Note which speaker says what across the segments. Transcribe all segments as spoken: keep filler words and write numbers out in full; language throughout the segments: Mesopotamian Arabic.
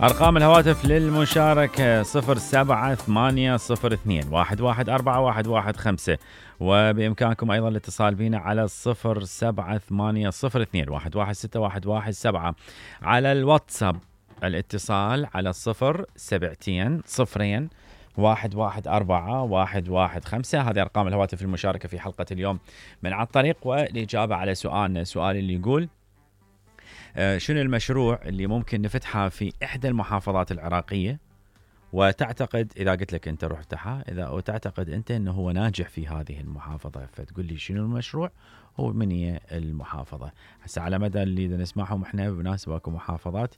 Speaker 1: أرقام الهواتف للمشاركة صفر سبعة ثمانية صفر اثنين واحد واحد أربعة واحد واحد خمسة، وبإمكانكم أيضا الاتصال بنا على صفر سبعة ثمانية صفر اثنين واحد واحد ستة واحد واحد سبعة. على الواتساب الاتصال على صفر سبعتين صفرين واحد واحد أربعة واحد واحد خمسة. هذه أرقام الهواتف المشاركة في حلقة اليوم من على الطريق. والإجابة على سؤالنا، سؤال اللي يقول شنو المشروع اللي ممكن نفتحه في إحدى المحافظات العراقية وتعتقد إذا قلت لك أنت روح افتحها إذا وتعتقد أنت أنه هو ناجح في هذه المحافظة، فتقول لي شنو المشروع هو من هي المحافظة. هسه على مدى اللي نسمعهم احنا بمناسبة اكو محافظات،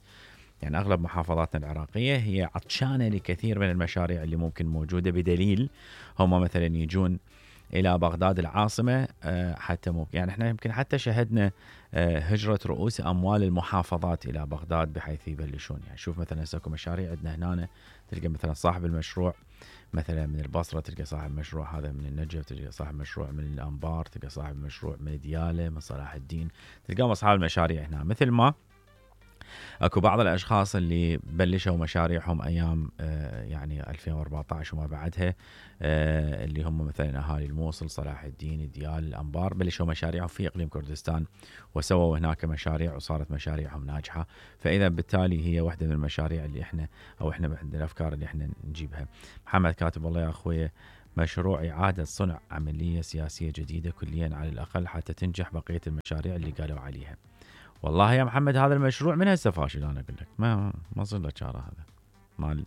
Speaker 1: يعني أغلب محافظاتنا العراقية هي عطشانة لكثير من المشاريع اللي ممكن موجودة، بدليل هم مثلا يجون إلى بغداد العاصمة حتى ممكن يعني احنا يمكن حتى شهدنا هجرة رؤوس أموال المحافظات إلى بغداد بحيث يبلشون. يعني شوف مثلا هسه مشاريع عندنا هنا، تلقى مثلا صاحب المشروع مثلا من البصرة، تلقى صاحب مشروع هذا من النجف، تلقى صاحب مشروع من الأنبار، تلقى صاحب مشروع من ديالى، من صلاح الدين، تلقى أصحاب المشاريع هنا. مثل ما اكو بعض الاشخاص اللي بلشوا مشاريعهم ايام آه يعني ألفين وأربعة عشر وما بعدها، آه اللي هم مثلا اهالي الموصل، صلاح الدين، ديال، الانبار، بلشوا مشاريعهم في اقليم كردستان وسووا هناك مشاريع وصارت مشاريعهم ناجحه. فاذا بالتالي هي واحده من المشاريع اللي احنا او احنا من الافكار اللي احنا نجيبها. محمد كاتب والله يا اخوي مشروع اعاده صنع عمليه سياسيه جديده كليا على الاقل حتى تنجح بقيه المشاريع اللي قالوا عليها. والله يا محمد هذا المشروع من هسه فاشل، انا اقول لك ما ما صار له شاره. هذا مال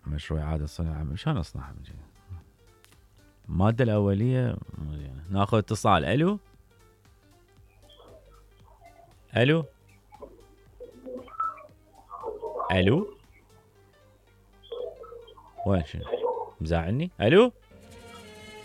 Speaker 1: مشروع اعاده صنع شلون اصنعها؟ الماده الاوليه مزيانه. ناخذ اتصال. الو الو الو وين شنو مزاعلني؟ الو